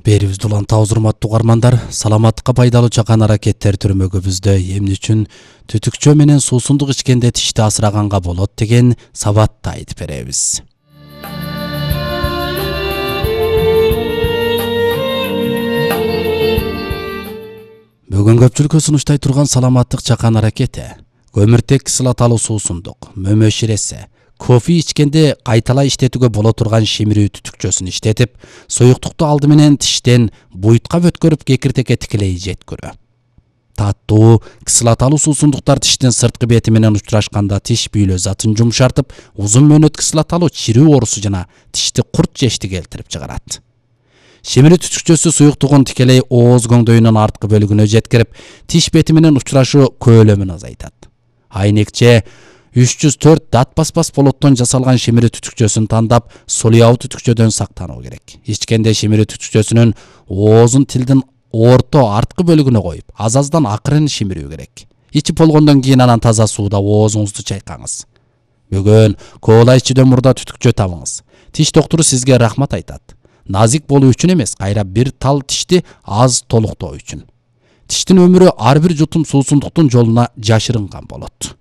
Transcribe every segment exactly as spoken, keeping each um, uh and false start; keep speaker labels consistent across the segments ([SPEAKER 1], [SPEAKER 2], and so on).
[SPEAKER 1] Берибизди улантабыз, урматтуу угармандар. Саламаттыкка пайдалуу чакан аракеттер түрмөгүбүздө эмне үчүн түтүкчө менен суусундук ичкенде тишти асыраганга болот деген сабатты айтып беребиз. Бүгүн көпчүлүккө сунуштай турган саламаттык чакан аракети көмүртек кислоталуу суусундук, мөмө ширесе, кофе ичкенде кайталай иштетүүгө боло турган шимирүү түтүкчөсүн иштетип, суюктукту алды менен тиштен буйтка өткөрүп кекиртекке тикелей жеткирүү. Таттуу, кислоталуу суусундуктар тиштин сырткы бети менен учурашканда тиш бүйлө затын жумшартып, узун мөөнөт кислоталуу чирүү оорусу жана тишти курт жешти келтирип чыгарат. Шимирүү түтүкчөсү суюктугун тикелей ооз көңдөйүнүн арткы бөлүгүнө жеткирип, тиш бети менен учурашуу көөлөмүн азайтат. Айнекче үч жүз төрт дат баспас болоттон жасалган шимирүү түтүкчөсүн тандап, солуяу түтүкчөдөн сактануу керек. Ичкенде шимирүү түтүкчөсүнүн оозун тилдин орто арткы бөлүгүнө коюп, аз-аздан акырын шимирүү керек. Ичип болгондон кийин анан таза сууда оозуңузду чайкаңыз. Бүгүн коола ичүүдөн мурда түтүкчө табыңыз. Тиш доктуру сизге рахмат айтат. Назик болуу үчүн эмес, кайра бир тал тишти аз толуктоо үчүн. Тиштин өмүрү ар бир жутум суусундуктун жолуна жашырынган болот.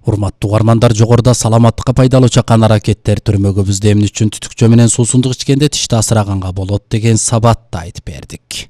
[SPEAKER 1] Урматтуу угармандар, жогоруда саламаттыкка пайдалуу чакан аракеттер түрмөгүбүздө эмне үчүн түтүкчө менен суусундук ичкенде тишти асыраганга болот деген сабатты айтып бердик.